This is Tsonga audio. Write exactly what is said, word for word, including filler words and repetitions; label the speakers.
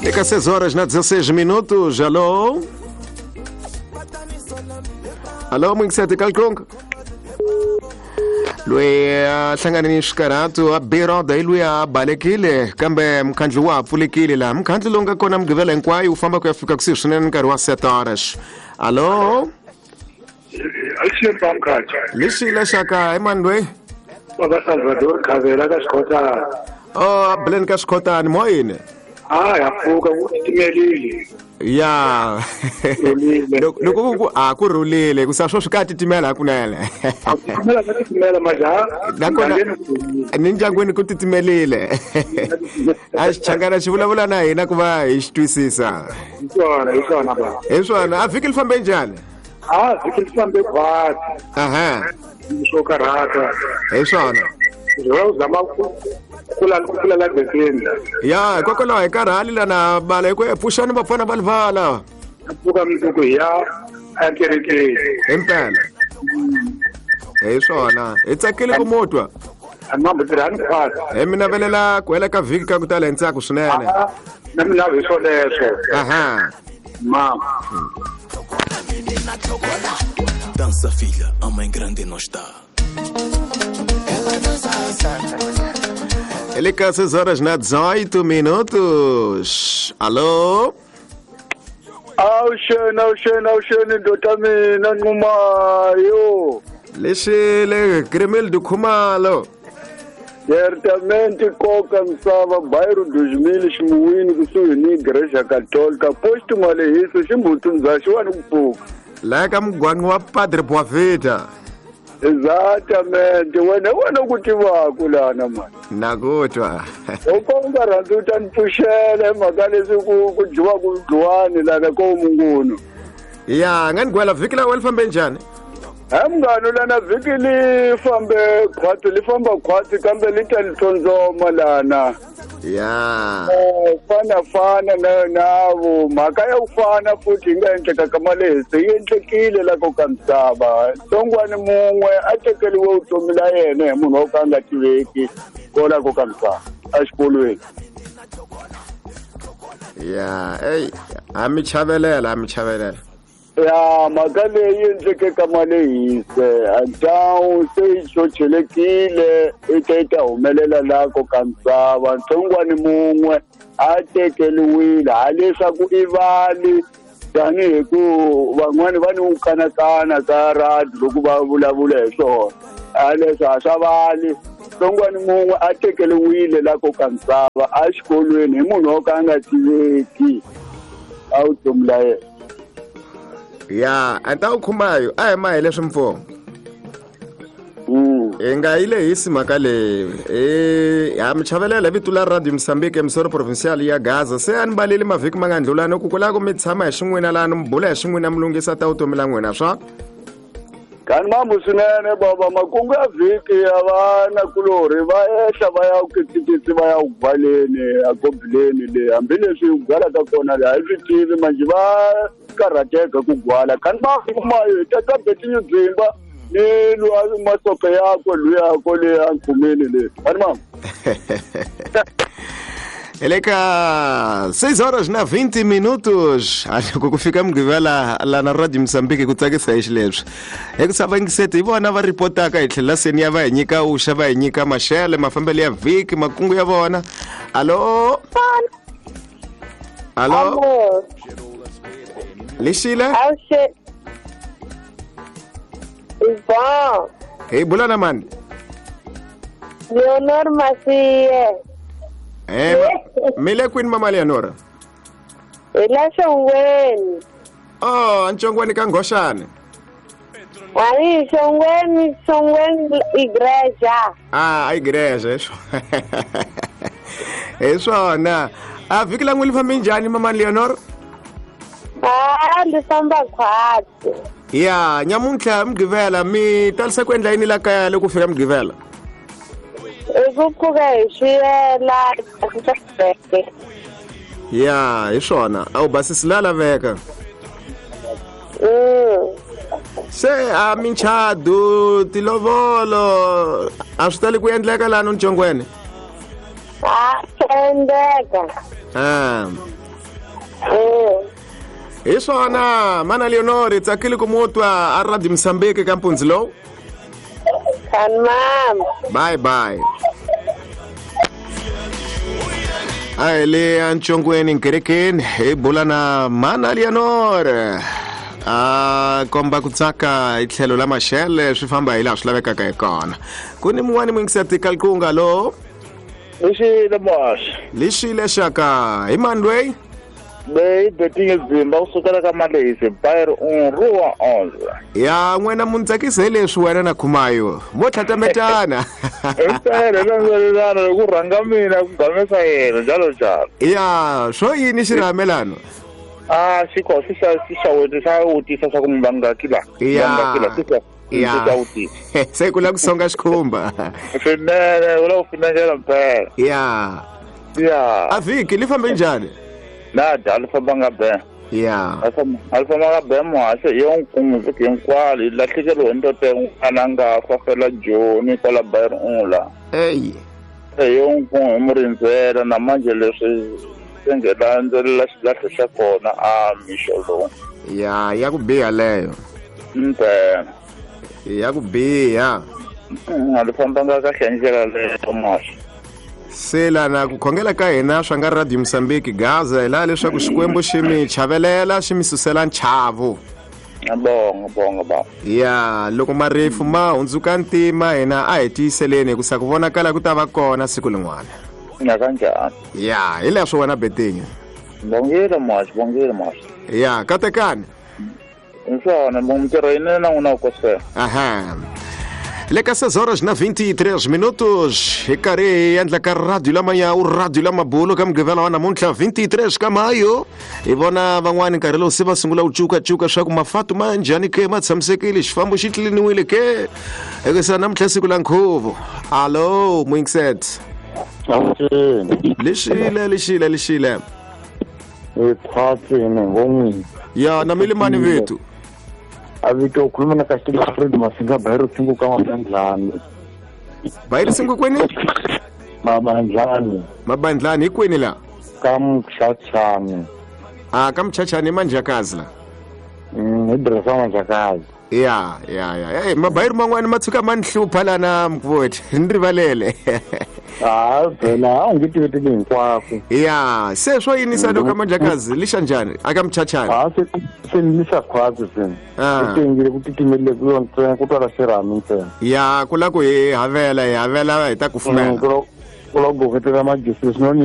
Speaker 1: Eka seis horas na dezesseis minutos. Alô? Alô, Mwingisete Kalkong? Loyi a hlangane ni swikarhato a biroda hi loyi a balekile kambe mukhandlu wa ha pfulekile laha mukhandlu lowu nga kona mugqivela hinkwayo wu famba ku ya fika kusuhi swinene nkarhi wa sete horas. Alô? Lexi lexaka hi mani loyi?
Speaker 2: Baba Salvador Khavela ka Xikhotana.
Speaker 1: Oh, Blen ka Xikhotana moyini.
Speaker 2: Ah, ya pfuka ku titimelile.
Speaker 1: Ya. Loko ku a ku rhulile ku sa swo swi ka titimela hakunene.
Speaker 2: A titimela ka titimela maja.
Speaker 1: Nakona ni ndyangwini ku titimelile. A xichangana xi vulavula na hina ku va hi xi twisisa.
Speaker 2: Hi swona, hi swona ba.
Speaker 1: Hi swona, a vhiki li fambe njhani?
Speaker 2: Ah, vhiki li fambe khwatsi.
Speaker 1: Aha.
Speaker 2: Swo karhata.
Speaker 1: Hi swona.
Speaker 2: Zwa zama kula kula la bekeni.
Speaker 1: Ya, hikokwalaho hi karhali lana bala hi ku pfuxani vafana va livala.
Speaker 2: Pfuka mundzuku hi ya ekerekeni.
Speaker 1: Himpela. Hi swona. Hi tsakile ku mutwa.
Speaker 2: Mambo tirhani khwatsi.
Speaker 1: Hi mi navelela ku hela ka vhiki ka ku tala hi ntsako swinene.
Speaker 2: Na mina hi swoleswo.
Speaker 1: Aha.
Speaker 2: Ma.
Speaker 3: Dança filha, a mãe grande não está.
Speaker 1: Ele cá seis horas na dezoito minutos. Alô?
Speaker 2: Awushena, awushena, awushena ndoda mina Nxumayo.
Speaker 1: Lexile Gremel Khumalo.
Speaker 2: Certamente koka misava bairro dois mil ximuwini kusuhi ni Igreja Católica posto Malehiso ximbutunza xiwani ku pfuka.
Speaker 1: La ka mugwaqo wa Padre Boavida.
Speaker 2: Exatamente, wena wena ku tivaku lana mani.
Speaker 1: Na ku twa.
Speaker 2: U ko u nga rhandzi u ta ni pfuxela hi mhaka leswi ku ku dyiwaku dluwani lana ko mungunu.
Speaker 1: Ya, nga ni gwela vhiki la wena li fambe njhani?
Speaker 2: He munghana lana vhiki li fambe khwatsi li famba khwatsi kambe li ta li tsondzoma lana.
Speaker 1: Ya.
Speaker 2: Eh, fana fana na navo mhaka ya ku fana futhi yi nga endleka ka malehisi yi endlekile la ko ka misava. Tsongwani mun'we a tekeriwe vutomi la yena hi munhu wo ka a nga tiveki kola ko ka misava exikolweni.
Speaker 1: Ya, ey, a mi chavelela, a mi chavelela.
Speaker 2: Ya, mhaka leyi endleke ka malehise antawu se yi chochelekile i ta yi ta humelela la ko ka misava. Ntsongwani mun'we a tekeliwile haleswaku i vali tanihi ku van'wani va ni ku kanakana ka radio loko va vulavula hi swona haleswo a swa vali. Ntsongwani mun'we a tekeliwile la ko ka misava exikolweni hi munhu wo ka a nga tiveki a vutomi la yena.
Speaker 1: Ya, anta ukhumayo a hi ma hi leswi mfumo.
Speaker 2: Mm.
Speaker 1: Hi nga yi lehisi mhaka leyi. Eh, ha mi chavelela vito la Radio Mozambique emisoro provincial ya Gaza. Se a ni baleli mavhiki ma nga ndlulani ku kula ku mi tshama hi xin'wina lani mi bula hi xin'wina mi lunghisa ta vutomi la n'wina swa.
Speaker 2: Kani mambo swinene baba makungu ya vhiki ya vanakulorhi va ehla va ya kitsikitsi va ya ku gwaleni a gobileni le hambileswi ku gwala ka kona le a hi swi tivi manjhe va karhateka ku gwala. Kani makumayo hi ta twa Betinho Dzimba ni luwa masope yakwe luya kole a nkhumeni le. Kani mambo.
Speaker 1: Ele ka seis horas na vinte minutos. Acho que fika mugqivela la na Radio Mozambique ku tsakisa hi xileswi. Hi ku savangisete hi vona va ripotaka hi tlhela seni ya va hi nyika uxa va hi nyika maxele mafambelo ya vhiki makungu ya vona. Alô? Alô? Lexile?
Speaker 4: Bom.
Speaker 1: Hi bula na mani?
Speaker 4: Leonor Masie.
Speaker 1: Eh, mi le kwini mama Leonora?
Speaker 4: Hi la Xongweni.
Speaker 1: Oh, Nchongweni ka Nghoxani.
Speaker 4: Hayi, Xongweni, Xongweni igreja.
Speaker 1: Ah, a igreja hi swona. Hi swona. A vhiki la n'wina li fambe njhani mama Leonora?
Speaker 4: Ah, li famba khwatsi.
Speaker 1: Ya, nyamuntlha mugqivela mi talisa ku endla yini la kaya loko fika mugqivela?
Speaker 4: I ku pfuka hi swiyela.
Speaker 1: Ya, hi swona. A wu basisi la laveka.
Speaker 4: Mm.
Speaker 1: Se a minchadu tilovolo a swi tali ku endleka lano Nchongweni?
Speaker 4: A swi endleka.
Speaker 1: Ah. Hi swona mana Leonor hi tsakile ku mu twa a Radio Mozambique ka mpundzu lowu.
Speaker 4: Kani mama.
Speaker 1: Bye bye. A hi le eNtshongweni nkerekeni hi bula na mana Leonor. A komba ku tsaka hi tlhelo la maxele swi famba hi laha swi lavekaka hi kona. Ku ni mun'wani muyingiseri Kalkunga lo.
Speaker 2: Lexile muhaxi.
Speaker 1: Lexile xaka hi mani loyi?
Speaker 2: Leyi betinge dzimba kusukela ka Malehisi Bayer un rua onze.
Speaker 1: Ya n'wina mu ni tsakisa hi leswi wena na Khumayo mo tlhatametana.
Speaker 2: Impela landzelelana ku rhanga mina ku gamesa yena njalo njalo.
Speaker 1: Ya swo yini xirhamelano?
Speaker 2: Ah xiko xi xa xi xa wena xa wutisa swa ku mi vangaki la.
Speaker 1: Ya.
Speaker 2: Ya.
Speaker 1: Se ku la ku songa xikhumba.
Speaker 2: Swinene u la ku finengela mpela.
Speaker 1: Ya.
Speaker 2: Ya.
Speaker 1: A vhiki li fambe njhani?
Speaker 2: Na dya li fambanga be.
Speaker 1: Ya.
Speaker 2: A li fambanga be muhaxi hi yo nkungu vhiki hinkwalo hi lahlekeriwe hi ndoto yin'wana a nga fa fela Joni kwala Bayer un la.
Speaker 1: Eyi.
Speaker 2: Se yo nkungu hi mu rindzela na manje leswi se nge landzelela xilahlo xa kona a mixo lowu.
Speaker 1: Ya ya ku biha leyo.
Speaker 2: Mpela.
Speaker 1: Ya ku biha.
Speaker 2: A li fambanga kahle hi ndlela leyo muhaxi.
Speaker 1: Se lana ku khongela ka hina swa nga Radio Mozambique Gaza hi laha leswaku Xikwembu xi mi chavelela xi mi susela nchavo.
Speaker 2: Bonga bonga ba.
Speaker 1: Ya loko marifu ma hundzuka ntima hina a hi tiyiseleni hikusa ku vonakala ku ta va kona siku lin'wana.
Speaker 2: Na kanjhani?
Speaker 1: Ya hi leswo wena Betinho.
Speaker 2: Bongile muhaxi bongile muhaxi.
Speaker 1: Ya katekani.
Speaker 2: Inswona mintirho yinene na n'wina kosela.
Speaker 1: Aha. Le ka seis horas na vinte e três minutos hi karhi hi endla ka radio lama ya u radio lama bolo ka mugqivela wa namuntlha vinte e três ka mayo. Hi vona van'wani nkarhi lowu se va sungula ku cukacuka swa ku mafatu ma njhani ke ma tshamisekile xifambo xi tliliniwile ke hikusa namuntlha siku la nkhuvo. Alo muyingiseti. Lexile lexile lexile. Ya na milimani vethu.
Speaker 2: Avito ukhuluma na Castelo Alfredo Masinga Bayero Singu ka Mabandlani.
Speaker 1: Bayero Singu kwini?
Speaker 2: Mabandlani.
Speaker 1: Mabandlani kwini la?
Speaker 2: Ka Mchachani.
Speaker 1: Ah ka Mchachani Manjakazi la.
Speaker 2: Mm, idresa Manjakazi.
Speaker 1: Ya ya ya. Hey mabayero man'wana ma tshuka ma ni hlupha lana mkuvoti. Ni rivalele.
Speaker 2: Ah phela a ngi tiveti hinkwako.
Speaker 1: Ya se swo yinisa loko ka Manjakazi lixa njhani aka Mchachani?
Speaker 2: Ah se se ni xa khwazi se.
Speaker 1: Ah.
Speaker 2: Se ngile ku titimelele ku yona ntsena ku twala xirhami ntsena.
Speaker 1: Ya ku la ku hi havela hi havela hi ta kufumela.
Speaker 2: Ku la ku goketela magesi swinene.